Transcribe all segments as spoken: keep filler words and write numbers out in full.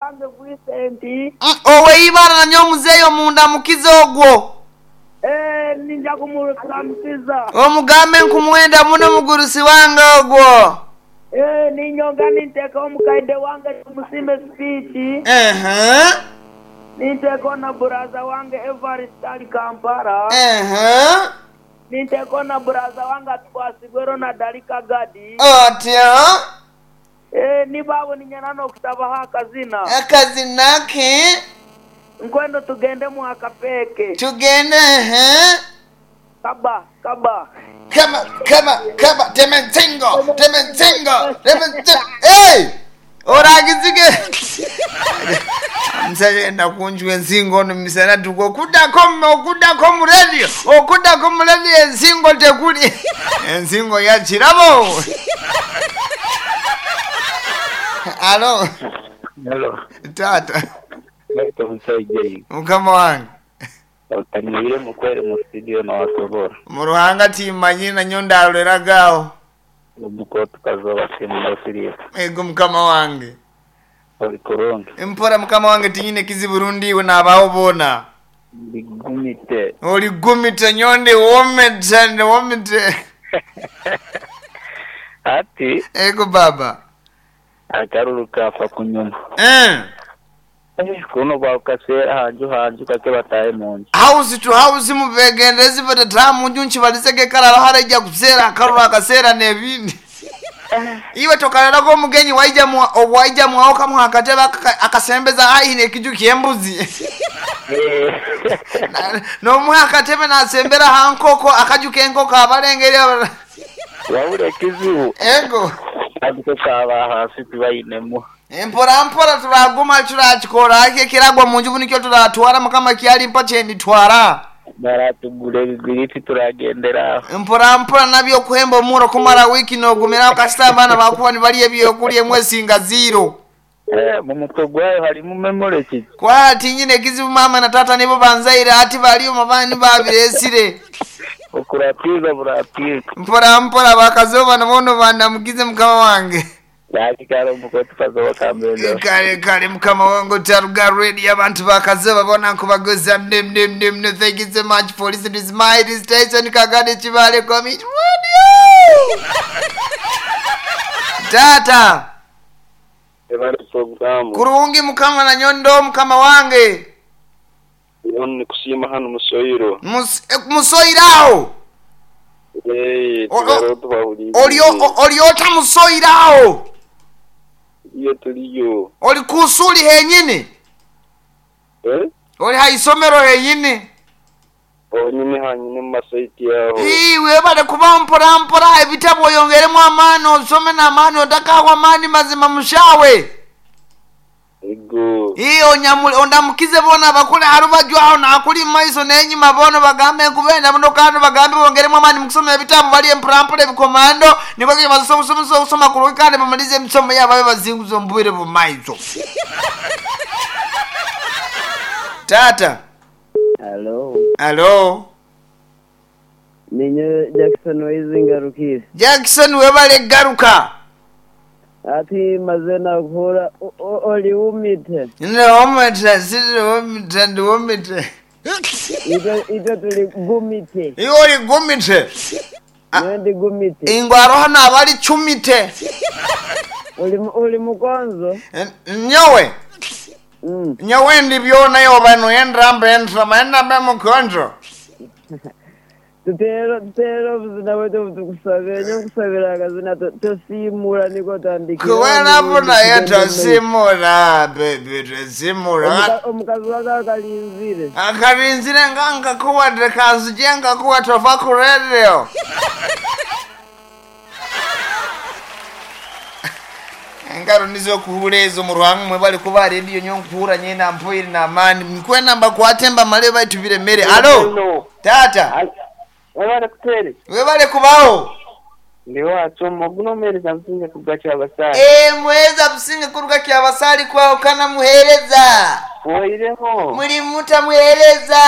Wange Vincent. Mm, Oweibara nanyo omuzeeyi omunda mukiza ogwo. Eh, ninja kumuramukiza. Omugambe nkumwenda muno mugurusi wange ogwo. Eh, ninyonga ninteka omukaide wange tumusimbe speech. Ehe. Ninteko na buraza wange Evarist ali Kampala. Ehe. Ninteko na buraza wange atwasigwe Ronald ali Kagadi. Otyo. Eh, nibabo ninyana n'okutabaho akazina. Akazina ke Nkwendo tugende mu akapeke. tugende ehe. Kaba, kaba. Kama kama kama tementingo tementingo tementingo. Hey! Oragizige. Omusajja nakunjwa ensingo ono misana tuku okuddako okuddako mu radio okuddako mu radio ensingo tekuli ensingo ya kirabo. Alo Hello. taata Baita omusajja iwe. mukama wange Otanyire mukwere mu studio nawasobora. mu ruhanga timanyi nanyo ndaloleraga Omukotu kazoba simu ego mukama wange Oli kurungi. mpora mukama wange tinyine kizibu rundi iwe naabaho boona Ndigumite. oli gumite nyo ndi womete ndi womite Ati ego baba akaruru kafa kunyuma. Eh. Eh, kuno bawukaseera hanju hanju kake bataye mu nju. House to house mubegendezi batata munju nkibalizege kalala harajja kuseera akalulu akaseera n'ebindi iwe tokalerako omugenyi waija mwa- waija mwawo kamuha akatebe aka- akasembeza aine ekiju ky'embuzi Eh. Na- n'omuha akatebe nasembera ha nkoko akaju k'enkoko abalengeri aba- Wabula ekizibu ego ariko kaba hasi tibayinemu. mpora mpora turaguma turakikora ake kiragwa munju bunikyo turatwara mukama kyalimpa kyenditwara Baratugura ebigiriti turagendera aho. mpora mpora nabyo okuhemba omuro kumara wiki nogumiraho kasita abaana bakuba nibalya ebyokulya emwesinga ziro Eh, mu mutwe gwayo harimu memory kiki? kwati nyine ekizibu mama na tata nibo banzaire ati baliyo mabani babiresire Okuratiza buratiza. mpora mpora bakazoba nabono bandamukize mukama wange Nakikara omukotu kazoba kambendo. kale kale mukama wange otaruga radio abantu bakazoba bona nkubagoza mnemnemnemne thank you so much for listening to my station Kagadi Kibale Community Radio. Tata Ebali programu kurungi mukama na nyondo mukama wange ni kusiima hano musoyiro Mus- eh, musoyirawo Eh, O- o- tubaro tubahuriye Olyo- olyota musoyirawo iyo tuliyo oli kusuli henyini eh oli haisomero henyini onyine hanyine mu masaiti yaho Ii, webale kuba mpora mpora ebitabo oyongeremu amaani osome n'amaani otakawa amaani mazima mushawe ego Ii, onyamule ondamukize bona bakule harubaju aho nakuli mumaiso n'enyuma bono bagambe nkubenda muno kandi bagambe bongeremu amaani mukusoma ebitabo balye mpora ebikomando nibwo basoma okusoma kurungi kandi bamalize emisomo yabo babe bazinguza omubwire bumaiso tata Hello. alo Ninyo Jackson Waizingarukire. Jackson webale garuka Ati maze nakuhura o- o- oli umite. ndiwomite siriwomite ndiwomite Ito ito tuli gumite. iwe oli gumite Ah. Niwe ndi gumite. ingwaro hano abali cumite Oli mu- oli mukonzo. N- nyowe Mm. nyowe ndi byona yoba noyendrambe endrama endambe mukonjo Tutero tutero obuzina bwetu butukusabira nyo nkusabira akazina to- tosimula niko tandikira. kuwenapo naye tosimula bebi tosimula Omuka- Omukazi wake akalinzire. akarinzire nga nkakuwadde kanzije nkakuwa tova ku radio engaro nizo kuhura ezo mu ruhanga mwe bali kuba radio nyo nkuhura nyena mpoire n'amaani nkwena mbakwate mbamale baitu biremere alo tata Wabale kutere. webale kubaho Ndi wacu muguno mwereza msinge kugacha abasali. Eh, muheza businge kuruga kyabasali kwawo kana muhereza Oireho. Muli mutamwereza.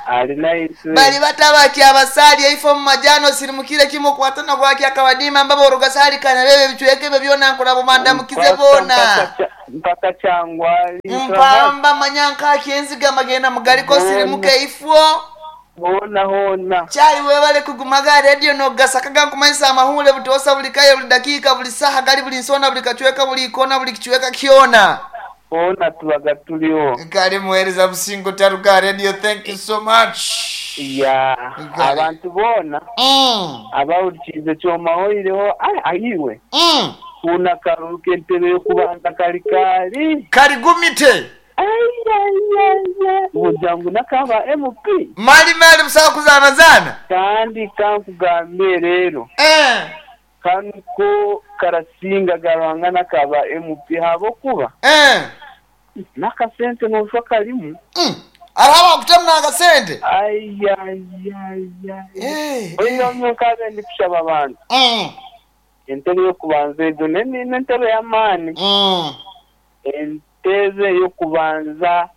Ali naitwe. Bali batabaki abasaali eifo mu majano sirimukire kimu kwatana gwaki akabadima mbaba orugasali kana bebe bichweke ebyo byona nkola bumanda mukize bona. Mpaka kyangwali. Mpamba manyanka kyenziga magenda mugaliko sirimuke ifo. Hona hona. Chali webale kugumaga radio no gasakaga nkumanyisa amahule butosa buli kaye buli dakika buli saha gali buli nsona buli kachweka buli ikona buli kichweka kiona. Hona tubaga tuliho. Kale muhereza busingo taruka radio, thank you so much. Ya Kale. abantu bona Mm. abawulikize kyomahoireho ayiwe Mm. kuna karuru k'entebe y'okubanza kali kali Kali gumite. bujangu nakaba M P Mali mali busawa kuzana zana. kandi kankugambe rero Eh. kanuko karasinga garwanga nakaba M P habokuba Eh. nakasente noshwa kalimu. Mm. Araba kutamna akasente. Ayayaya. Eh. Oyo nkabe ndi kushaba abantu. Mm. Entebe y'okubanza ejo n'entebe y'amaani. Mm. Entebe y'okubanza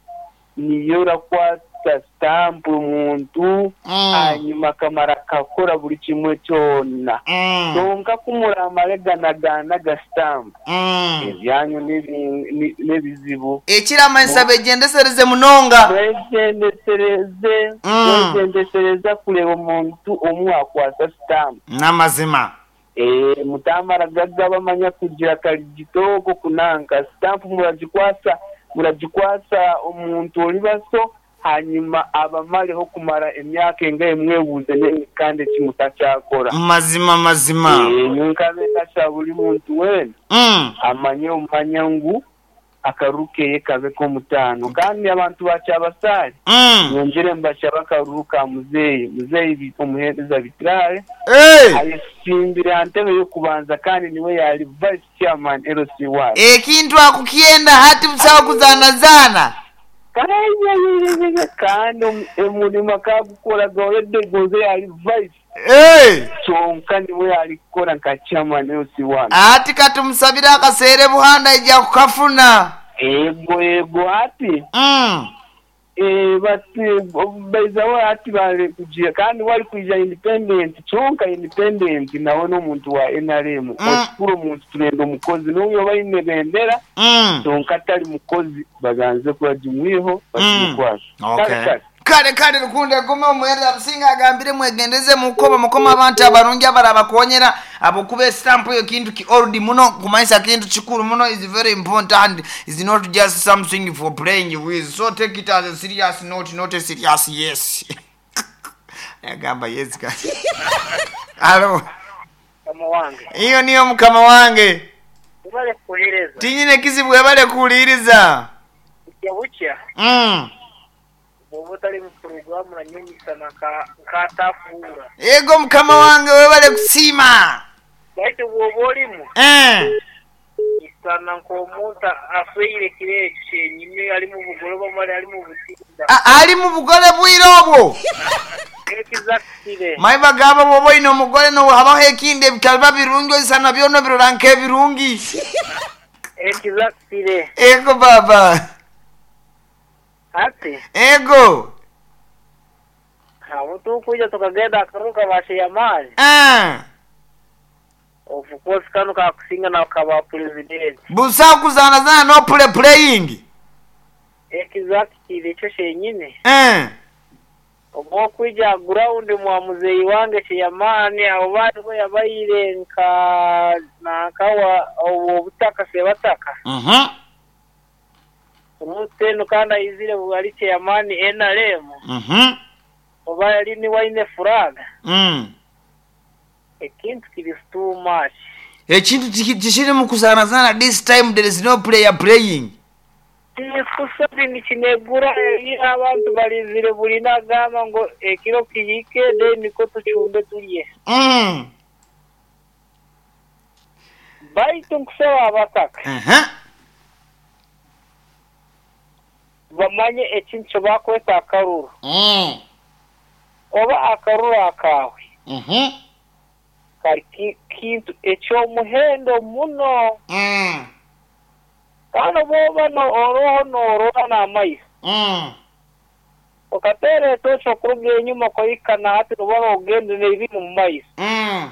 niyo rakwata stamp omuntu Mm. hanyuma akamara kakora buri kimwe kyona. Mm. Kyonka kumuramare ganagana ga stamp. Mm. Ebyanyu n'ebizibu. Ekiramanisa begyendesereze munonga. Mwegendesereze. Mm. Mwegendesereza kureba omuntu omwe akwasa stamp. N'amazima. Eh, mutamara gaga bamanya kugira kaligitoko kunanka stamp muragikwasa muragikwasa omuntu oli baso hanyuma abamaleho kumara emyaka engaye mwebuuze kandi kimutakyakora. Mazima mazima. Eh, nkabe nasha buli muntu wena Mm. amanye omanya ngu akaruru keye kabe k'omutaano kandi abantu bakyabasaali Mm. nyongere mbashaba akaruru ka muzeeyi muzeeyi omuheereza bitirare Hey. ayesimbira ntebe y'okubanza kandi niwe yali vice chairman L C one. Ekintu akukyenda hati busawa kuzanazana. Kayayayayaya kandi omulimu akagukora gawedde gonze yali vice. Hey. Kyonka niwe yali kukola nka chairman L C one. Ati katumusabira akaseere buhanda ijja kukafuna. Ego ego ati. Mm. Eh, bati baizawo ati bale kugira kandi wali kuija independent kyonka independent nawe n'omuntu wa N R M. Mm. Okukura omuntu turenda omukozi n'oyo baine bendera Mm. kyonka atali mukozi baganze kuragimwiho bagimukwasa. Okay. Kale kale. Kale kale rukunde gume omuhereza businga agambire mwegendeze mukoba mukoma abantu abarungi abarabakonyera abokuba estamp eyo kintu ki old muno kumanyisa kintu kikulu muno is very important, is not just something for playing with, so take it as a serious note, not a serious yes. Agamba yes kati. Alo. Mukama wange. Iyo niyo mukama wange. Ubale kuhereza. Tinyine kizibu webale kuwuliriza. Bukya bukya. Mm. Bw'oba otali mu puroguramu nanyonyisana nkatafuura. Ego mukama wange webale kusiima. Baitu bw'oba olimu. Eh. Isana nk'omuntu afeire kiro ekyo kyenyini ali mu bugole bamale ali mu butinda. Ali mu bugole bwire obwo. Ekizakire. Mayi bagamba bw'oba olina omugole nohabaho ekindi ebitaliba birungi oisana byona obirora nk'ebirungi. Ekizakire. Ego baba. Ati. Ego. Abo tukuja tukagenda akaruka basheyamaani. Eh. Of course kano kakusinga na kaba president. Busa kuzana zana no play playing. Exactly ekyo kyenyini. Eh. Obwo kuja ground mwa muzeyi wange sheyamaani abo bali bo yabayire nka nakawa obwo butaka sebataka. Mhm. Omuteno kandi ayizire bwali sheyamaani N R M. Mhm. Oba yali ni waine furaga. Mm. Ekintu kiri too much. Ekintu kishiri mu kuzana zana this time there is no player playing. Kusabini kinegura abantu balizire buli nagamba ngo ekiro kihike then niko tuchumbe tulye. Mm. Baitu nkusaba abataka. Uh-huh. Bamanye ekintu bakweta akaruru. Mm. Oba akaruru akawe. Mhm. Kali kintu ekyomuhendo muno. Mm. Kano bwoba no oroho norora n'amaiso. Mm. Okateera etoki okuruga enyuma koyikana hati noba ogende n'ebiri mu maiso. Mm.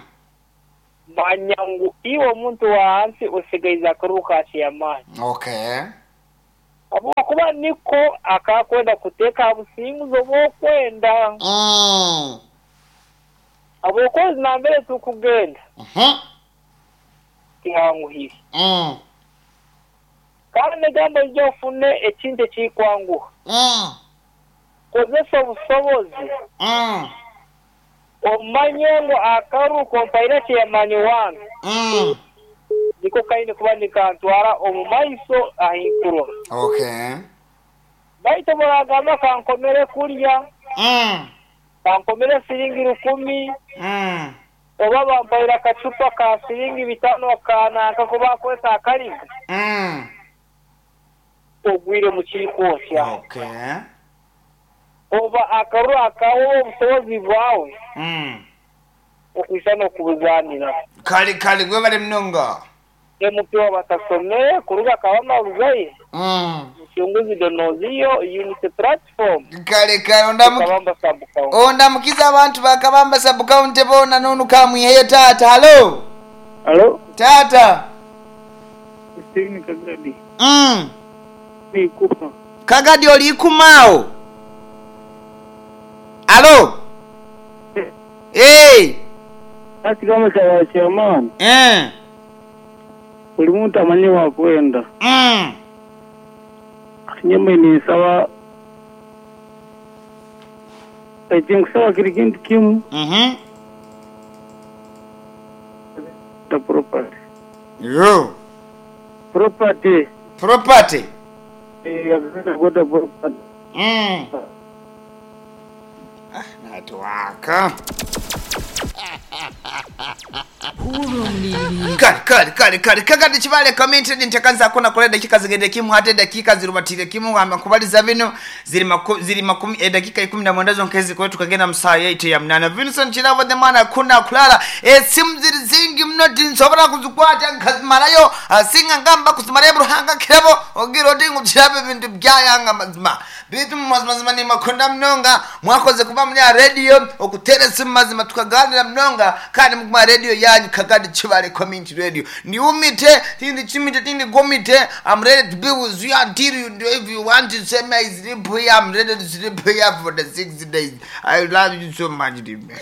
Manya ngu iwe omuntu wa hansi osigaize akaruru ka chairman. Okay. Habwokuba niko akakwenda kuteeka aha businguzi obw'okwenda. Mm. Habwokuba nambere tukugenda Mhm. tihanguhire. Mm. Kandi negamba ijja ofune ekintu ekikwanguha. Mm. Kozesa obusobozi Mm. omanye ngu akaruru kompaire chairman wange Mm. niko kaine kuba nikantwara omu maiso ahinkurora. Okay. Baitu muragamba kankomere kurya, Mm. kankomere siringi rukumi, Mm. oba bampaire akacupa ka siringi bitano kananka ko bakweta akariga, Mm. ogwire mu kiikosya. Okay. Oba akaruru akawe obusobozi bwawe Mm. okwisa n'okubuzanira. Kale kale gwe bali mnonga. M P wabatasomeye kuruga Kabamba Rugayi Mm. Mchunguzi Donoziyo Unity Platform Kale kale ondamu Kabamba sub county. ondamukiza abantu bakabamba sub county bona nonu kamwiheyo tata. Hello. Halo, Tata. Steven Kagadi. Mm. Ni kupa. Kagadi oli kumao. Hello. Hey. Ati kama cha chairman, Eh. buli muntu amanye wakwenda. Mm. Nyama ni sawa. Ekinkusaba kiri kintu kimu Mhm. ta property. Yo. Property. Property. Eh, agenda property. Mm. Ah, natuwaka. Kale kale kale kale Kagadi Kibale community ntekanza kona kola dakika zigende kimu hate dakika zirubatire kimu amba kubaliza bino ziri maku, ziri makumi eh, dakika ikumi na mwenda zonkezi kwetu kagenda msaa yaite ya mnana Vincent Chiravo the man akunda kulala esimu ziri zingi mno tinsobora kuzikwata nkazimalayo asinga ngamba kuzimalayo buruhanga kirabo ogira oti ngukirabe bintu byayanga mazima bitu mazima ni makunda mnonga mwakoze kuba muri radio okutere simu mazima tukaganira mnonga kandi mukuma radio yanyu Kagadi Kibale community radio ni umite tindi chimite tindi gomite. I'm ready to be with you until you do. If you want to say my sleep here, I'm ready to sleep here for the six days. I love you so much, dear man.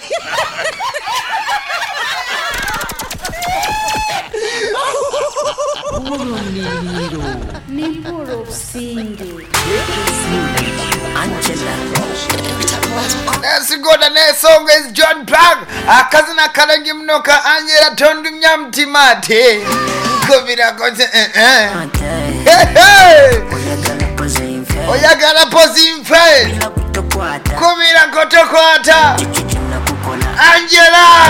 Let's go. The next song is John Park. Akazina kalengi mnoka Angela tondumya mtimate. Kubira kote eh eh. Hey hey. Oyagala pozi mfe. Kubira kotokwata. Angela.